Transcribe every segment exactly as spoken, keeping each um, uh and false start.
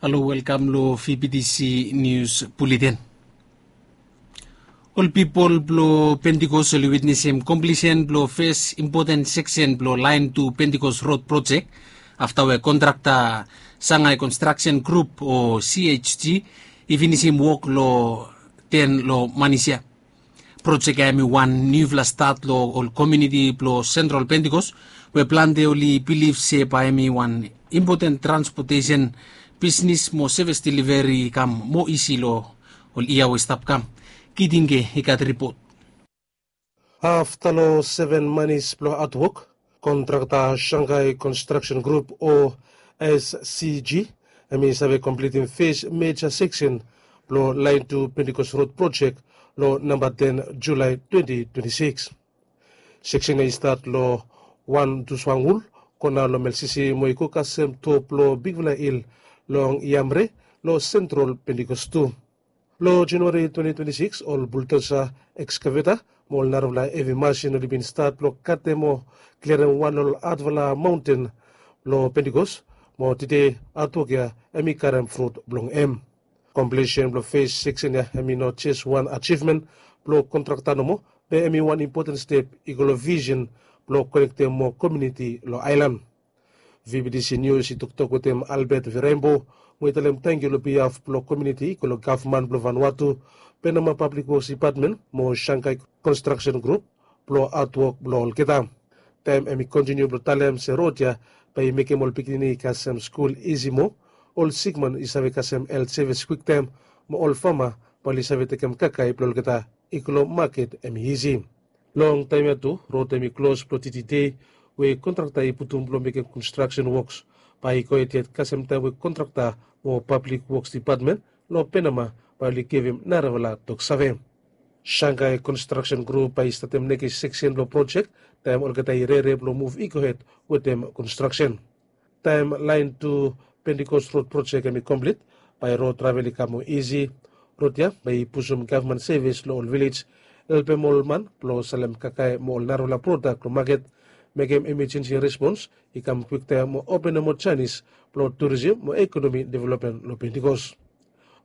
Halo, welkam long V B T C News Bulletin. Ol pipol blong Pentikos oli witnesim komplisen blong fes impoten seksen blong laen tu Pentikos rod projek afta we kontrakta Shanghai Construction Group o C H G i finisim wok long ten long manis ya. Projek ya hemi wan niufala stat long ol komuniti blong Sentral Pentikos we plante oli bilif se bae hemi wan impoten transpotesen, bisnis mo sevis deliveri i kam moa isi long ol yia we i stap kam. Kitinge i gat ripot. Afta long seven manis blong hatwok, kontrakta Shanghai Construction Group o S C G hemi save komplitim fes meja seksen blong laen tu Pentikos rod projek long namba ten Julae twenti twenti sikis. Seksen ya i stat long wan Tuswangul kona long Melsisi mo i go kasem top long bigfala hil long Yamre long Sentral Pentikos tu. Long Januari twenti twenti sikis ol buldosa, ekskaveta mo ol narafala hevi masin oli bin stat blong katem o kliarem wan long ol hatfala maonten blong Pentikos mo tede hatwok ya hemi karem frut blong hem. Komplisen blong fes seksen ya hemi no jes wan ajivmen blong kontrakta nomo, be hemi wan impoten step i go long visen blong konektem moa komuniti long aelan. V B T C Nius i toktok wetem Albert Virembo mo i talem tangkiu long bihaf blong komuniti i go long gavman blong Vanuatu, Penama Pablik Woks Dipatmen mo Shanghai Construction Group blong hatwok blong olgeta. Taem hemi kontiniu blong talem se rod ya bae i mekem ol pikinini i kasem skul isi moa, ol sikman i save kasem helt sevis kwiktaem mo ol fama bae oli save tekem kakae blong olgeta i go long maket hemi isi. Long taem ya tu rod hemi klos blong titi dei we kontrakta i putum blong mekem konstraksen woks bae i go hed yet kasem taem we kontrakta mo Pablik Woks Dipatmen long Penama bae oli givim narafala toksave. Shanghai Construction Group bae i statem nekis seksen blong projek taem olgeta i rere blong muv i go hed wetem konstraksen. Taem laen tu Pentikos rod projek hemi komplit, bae rod travel i kam moa isi. Rod ya bae i pusum gavman sevis long ol vilej, helpem ol man blong salem kakae mo ol narafala prodak long maket, mekem emejensi respons i kam kwiktaem mo openem moa janis blong turisim mo ekonomi developmen long Pentikos.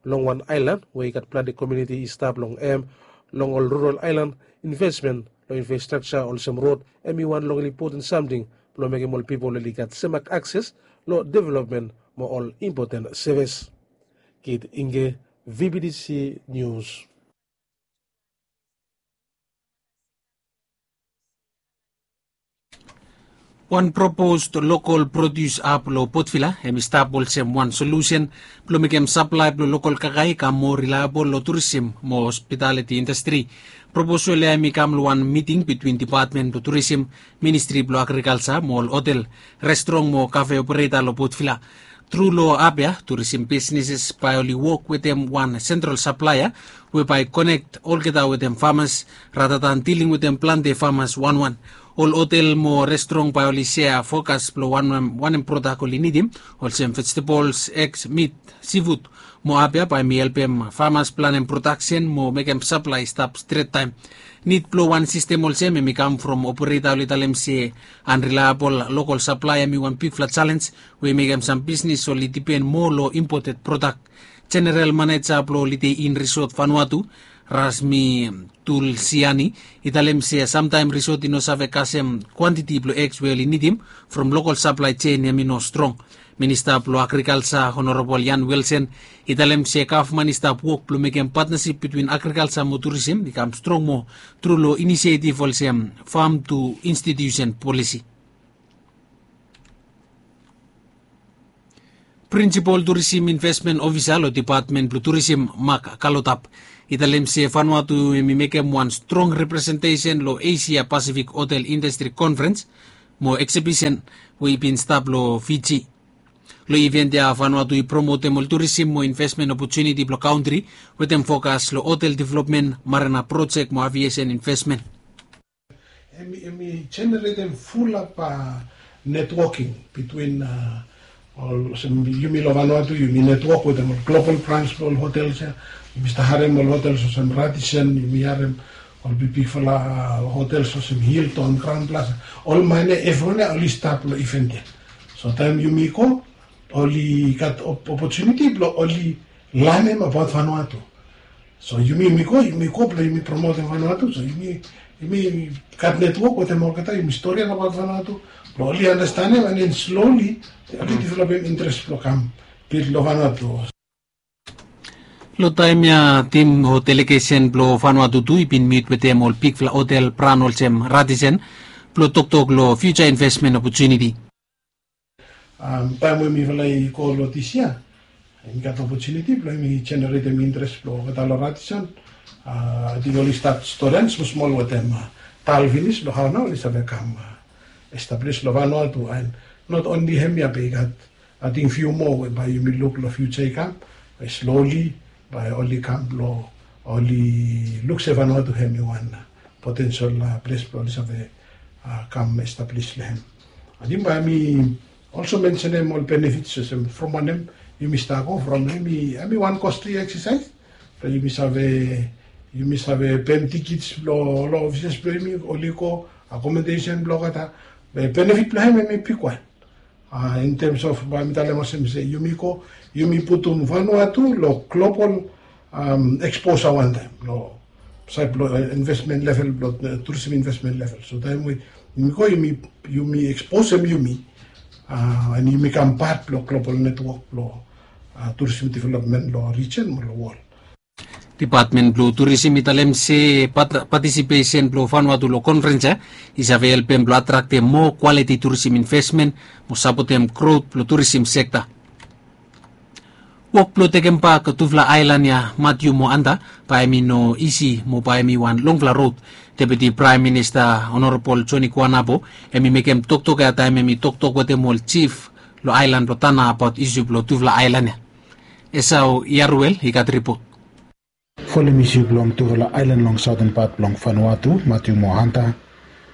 Long wan aelan we i gat plante komuniti i stap long hem, long ol rural aelan, investmen long infrastrakja olsem rod hemi wan long ol impoten samting blong mekem ol pipol oli gat semak akses long developmen mo ol impoten sevis. Kit Inge, V B T C Nius. Wan propos lokol produs ap long Potvila hemi stap olsem wan solusen blong mekem saplae blong lokol kakae i kam moa rilaebol long turisim mo hospitaliti indastri. Proposol ya hemi kam long wan miting bitwin dipatmen blong turisim, ministri blong agrikalja mo ol hotel, restrong mo kafe opereta long Potvila. Tru long ap ya turisim bisneses bae oli wok wetem wan sentral saplaea we bae i konek olgeta wetem famas, ratatan diling wetem plante famas wanwan. Ol hotel mo restrong bae oli sea fokas blong wanem wanem prodak oli nidim, olsem vejetabols, eks, mit, sifud. Mo ap ya bae mi helpem famas planem prodaksen mo mekem saplae i stap stret taem. Nid blong wan sistem olsem hemi kam from opereta oli talem se anrilaebol lokol saplaea hemi wan bigfala jalenj we i mekem sam bisnes oli dipen moa long impoted prodak. Jeneral maneja blong Holiday Inn Resort Vanuatu, Rasmi Tulsiani, i talem se samtaem resort i no save kasem kwantiti blong eks we oli nidim from lokol saplae jen hemi no strong. Minista blong agrikalja Honorabol Ian Wilson i talem se gavman i stap wok blong mekem patnasip bitwin agrikalja mo turisim i kam strong moa tru long inisietif olsem fam tu institusen polisi. Prinsipol turisim invesmen ofisa long dipatmen blong turisim, Mak Kalotap, i talem se Vanuatu hemi mekem wan strong representesen long Esia Pasifik Hotel Indastri Konferens mo eksibisen we i bin stap long Fiji. Long iven ya Vanuatu i promotem ol turisim mo invesmen opotuniti blong kantri wetem fokas long hotel developmen, marina projek mo aviesen invesmen. Hemi hemi jeneretem fulap netwoking bitwin ol olsem yumi long Vanuatu yumi netwok wetem ol global brans blong ol hotels ya. Yumi stap harem ol hotels olsem Radisson, yumi harem ol bigbigfala hotels olsem Hilton, Crowne Plaza. Ol man ya evriwan ya oli stap long iven ya. So taem yumi go oli gat opotuniti blong oli lanem abaot Vanuatu. So yumi yumi go yumi go blong yumi promotem Vanuatu, so yumi yumi gat netwok wetem olgeta, yumi storian abaot Vanuatu blong oli anastenem, and then slowly oli developem interes blong kam bil long Vanuatu. Long taem ya tim o delegesen blong Vanuatu tu i bin mit wetem ol bigfala hotel bran olsem Radisson blong toktok long fiuja invesmen opotuniti. Taem we mifala i go long dis yia, mi gat opotuniti blong mi jeneretem interes blong olgeta long Radisson. Ating oli stat storian smolsmol wetem tal finis blong hao nao oli save kam establis long Vanuatu, and not only hemia be i gat ating fiu moa we bae yumi luk long fiuja i kam, bae slowly bae oli kam blong oli luk se Vanuatu hem i wan potensel ples blong oli save kam establis long hem. Ating bae mi olso mensenem ol benefits olsem from wanem yumi stap go from hem i wan kostli eksasaes. Blong yumi save yumi save pem tikits blong ol ofises blong yumi oli go, akomodesen blong olgeta. Be benefit blong hem hem i bigwan. In terms of bae mi talem olsem se yumi go yumi putum Vanuatu long global eksposa wantaem long saed blong investment level blong tourism investment level. So taem we yumi go yumi eksposem yumi, and yumi kam pat blong global netwok blong tourism development long region mo long wol. Depatmen blong tourism i talem se patisipesen blong Vanuatu long konferens ya i save helpem blong atraktem moa kwaliti tourism investment mo sapotem grot blong tourism sekta. Wok blong tekembak tufala aelan ya Matiu mo Anta bae hem i no isi mo bae hem i wan longfala rod. Deputi Praem Minista Honorabol Joni Kuanabo hem i mekem toktok ya taem hem i toktok wetem ol jif long aelan blong Tana abaot isu blong tufala aelan ya. Esau Yaruel i gat ripot. Folem isu blong tufala aelan long saoten pat blong Vanuatu, Matiu mo Anta,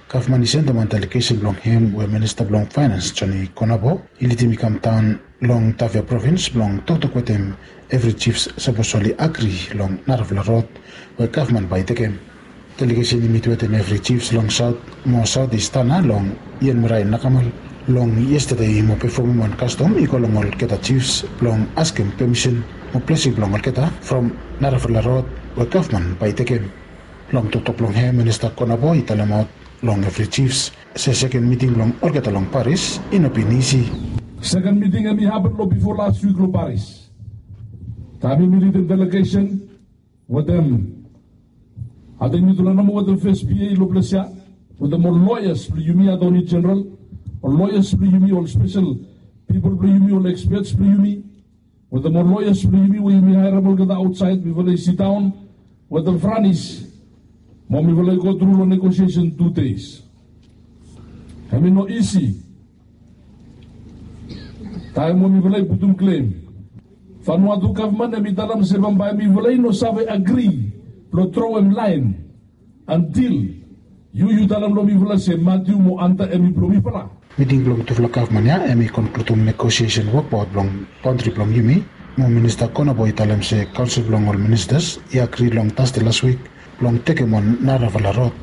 gavman i sendem wan delegesen blong hem we minista blong faenans Joni Konabo i lidim i kam daon long Tavia provins blong toktok wetem evri jifs sapos oli agri long narafala rod we gavman bae i tekem. Delegesen i mit wetem evri jifs long saot mo saot i stana long Ian Marae Nakamal long yestade i mo pefomem wan kastom i go long olgeta jifs blong askem pemisen mo blesing blong olgeta from narafala rod we gavman bae i tekem. Long toktok blong hem minista Konabo i talemaot long evri jifs se seken miting blong olgeta long Paris i no bin isi. Seken miting hem i hapen long bifo las wik long Paris. Taem yumi lidim delegesen wetem ating mitufala nomo wetem fes P A long ples ya wetem ol loyas blong yumi, atoni jeneral, ol loyas blong yumi, ol spesel pipol blong yumi, ol ekspets blong yumi wetem ol loyas blong yumi we yumi haerem olgeta aotsaed, mifala i sidaon wetem Franis mo mifala i gotru long negosiesen tu deis. Hem i no isi. Taem we mifala i putum klem, Vanuatu gavman hem i talem se bambae mifala i no save agri blong trowem laen antil yu yu talem long mifala se Matiu mo Anta hem i blong mifala. Miting blong tufala gavman ya hem i konkludim negosiesen wokbaot blong baontri blong yumi mo minista Konabo i talem se kaonsel blong ol ministas i agri long Tasde las wik blong tekem wan narafala rod.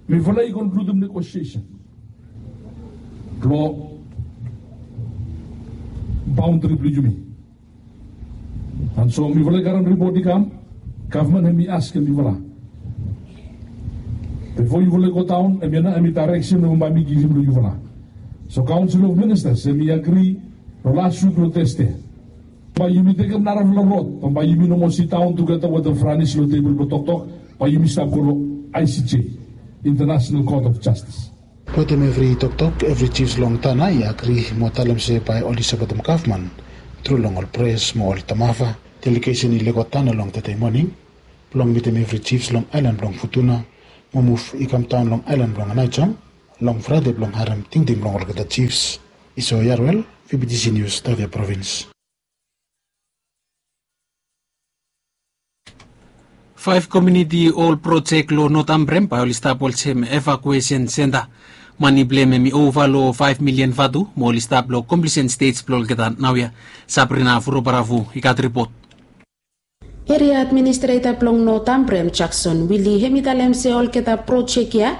Mifala i konkludim negosiesen blong baontri blong yumi. And so mifala i karem ripot i kam, gavman hem i askem yufala bifo yufala i godaon, hemia nao hem i daereksen we bae mi givim long yufala. So kaonsel of ministas hem i agri long las wik long Tasde bae yumi tekem narafala rod, bae yumi no moa sidaon tugeta wetem Franis long tebol blong toktok, bae yumi stap go long I C J, International Court of Justice. Wetem evri toktok evri jifs long Tana i agri mo talem se bae oli sapotem gavman tru long ol pres mo ol tamafa. Delegesen i lego Tana long tede moning blong mitim evri jifs long aelan blong Futuna mo muv i kam daon long aelan blong Anaijom long Fraede blong harem tingting blong olgeta jifs. Isao Yaruel, V B T C Nius, Tavia provins. Faef komiuniti ol projek long North Ambrem bae oli stap olsem evakuesen senta. Mane blong hem i ova long faef milian vatu mo oli stap long komplisen stej blong olgeta naoia. Sabrina Furobaravu i gat ripot. Eria administreta blong North Ambrem Jackson Willie hem i talem se olgeta projek ya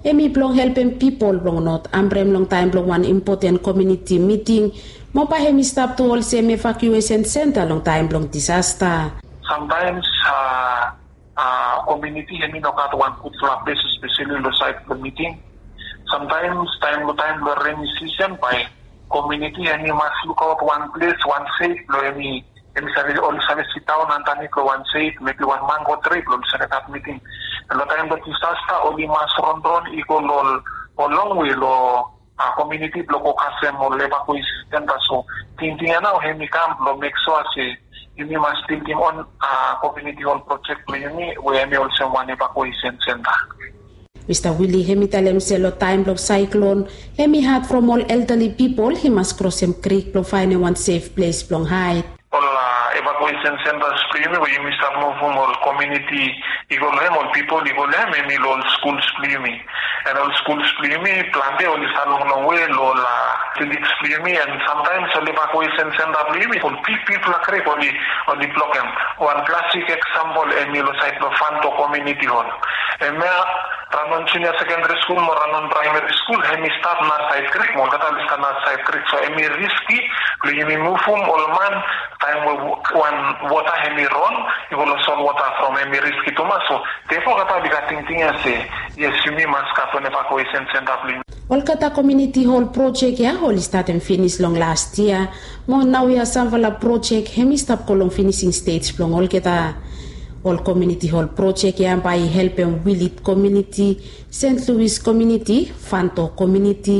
Hem i blong helpem pipol blong not ambrem long taem blong wan impoten komiuniti miting, mo bae hem i stap tu olsem evakuesen senta long taem blong disasta. Samtaems a komiuniti hem i no gat wan gudfala ples, espeseli long saed blong miting. Samtaems taem long taem blong reni sisen bae komiuniti hem i mas lukaot wan ples, wan sef blong hem i hem i save oli save sidaon andanit long wan sef, mebi wan mango tri blong oli save gat miting. Long taem blong disasta oli mas ronron i go long ol longwe long komiuniti blong go kasem ol evakuesen senta. So tingting ya nao hem i kam blong mek sua se yumi mas bildim on komiuniti hol projek blong yumi we hem i olsem wan evakuesen senta. Mista Wili hem i talem se long taem blong saeklon hem i had from ol eldali pipol i mas krosem krik blong faenem wan sef ples blong haed. Ol evakuesen sentas blong yumi we yumi stap muvum ol komiuniti i go long hem, ol pipol i go long hem hem i long ol skuls blong yumi. An ol skuls blong yumi plante oli stap longlong we long ol athletiks blong yumi, an samtaems ol evakuesen senta blong yumi ol bigbigfala krik oli blokem. Wan plastik eksampol hem i long saed blong Fanto komiuniti hol. Hemia Ranon Junia Sekendari Skul mo Ranon Praemari Skul hem i stap nasaed krik mo olgeta oli stap nasaed krik, so hem i riski blong yumi muvum ol man taem we wan wota hem i ron i go long solwota from hem i riski tumas. So tefo olgeta oli gat tingting ya se yes, yumi mas gat wan evakuesen senta blong yumi. Olgeta komiuniti hol projek ya oli statem finis long las yia, mo naoia samfala projek hem i stap go long finising stej blong olgeta. Ol komiuniti hol projek ya bae i helpem Wilit komiuniti, Sent Luis komiuniti, Fanto komiuniti,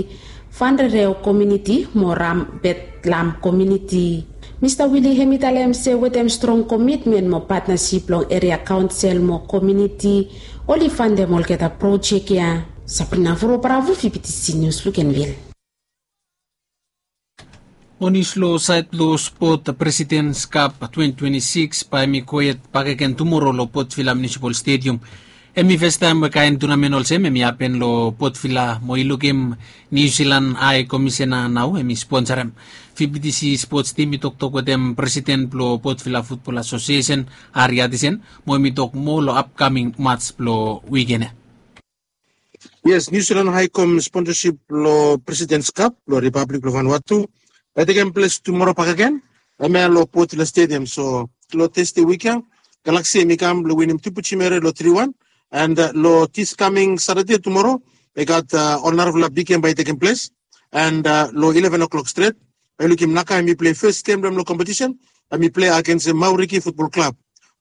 Fanrereo komiuniti mo Rambetlam komiuniti. Mista Wili hem i talem se wetem strong komitmen mo patnasip blong eria kaonsel mo komiuniti oli fandem olgeta projek ya. Sabrina Vuro Bravo, V B T C News, Lukenvil. Mo nius long saed blong spot, Presidents Cup twenty twenty-six bae hem i gohed bakegen tumoro long Port Vila Municipal Stadium. Hem i festaem we kaen tunamen olsem hem i hapen long Port Vila mo i lukim Niu Silan Hae Komisena nao hem i sponsarem. V B T C spots tim i toktok wetem presiden blong Port Vila Futbol Asosiesen, Ari Atisen, mo hem i tok moa long apkaming mats blong wiken ya. Yes, Niu Silan Hae Kom sponsasip blong Presidents Cup blong Ripablik blong Vanuatu bae i tekem ples tumoro bakegen, hemia long Port Vila Stadium. So long Tasde wik ya Galaksi hem i kam blong winim Tupu Jimere long tri wan. An long dis kaming Satade tumoro i gat ol narafala big gem bae i tekem ples. An long ileven o'clock stret bae yu lukim Naka hem i plei fes gem blong hem long kompetisen. Hem i plei agensem Mauriki Futbol Klab.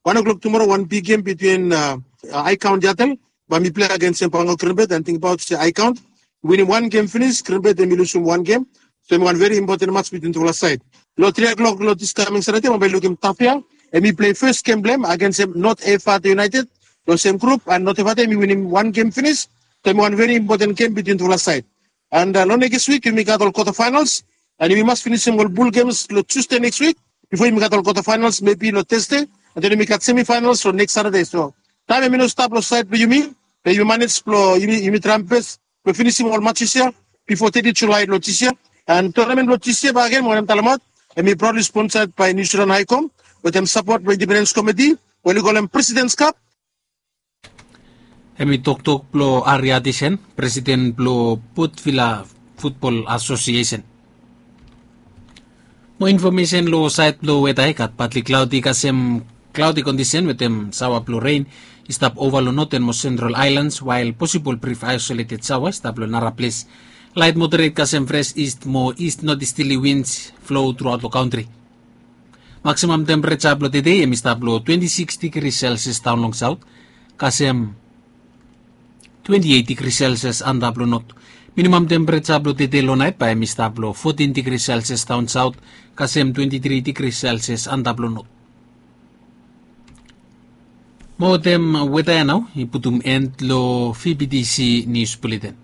Wan o'clock tumoro wan big gem bitwin Aekaon Yatel bae hem i plei agensem Bango Grinbed, an tingbaot se Aekaon winim wan gem finis, Grinbed hem i lusum wan gem. So hem i wan veri impoten mats bitwin tufala saed. Long tri o'clock long dis kaming Satade bae yu lukim Tafea hem i plei fes gem blong hem agensem Not Efata United long sem grup, an Not Efata hem i winim wan gem finis. So hem i wan veri impoten gem bitwin tufala saed. An long nekis wik yumi gat ol kwata faenals, an yumi mas finisim ol bul gems long Tusde nekis wik bifo yumi gat ol kwata faenals mebi long Tasde, an den yumi gat semi faenals long nekis Satade. So taem hem i no stap long saed blong yumi, be yumi manej blong yumi traem bes blong finisim ol matses ya bifo teti Julae long dis yia. An tunamen blong dis yia bakegen mi wantem talemaot hem i praodli sponsaed bae Niu Silan Hae Kom wetem sapot blong Indipendens Komiti we oli kolem Presidents Cup. Hem i toktok blong Ari Atisen, presiden blong Port Vila Futbol Asosiesen. Mo infomesen long saed blong weta, i gat patli klaodi kasem klaodi kondisen wetem saoa blong ren i stap ova long noten mo sentral aelans, wael posibol brif aesoleted saoa i stap long nara ples. Laet moderet kasem fres ist mo ist notistili wins flo truaot long kantri. Maksimam tempereja blong tedei hem i stap long twenti sikis digri selsias daon long saot kasem twenti eit digri selsias antap long not. Minimam tempereja blong tedei long naet bae hem i stap long fotin digri selsias daon saot kasem twenti tri digri selsias antap long not. Mo wetem weta ya nao i putum en long V B T C Nius Buleten.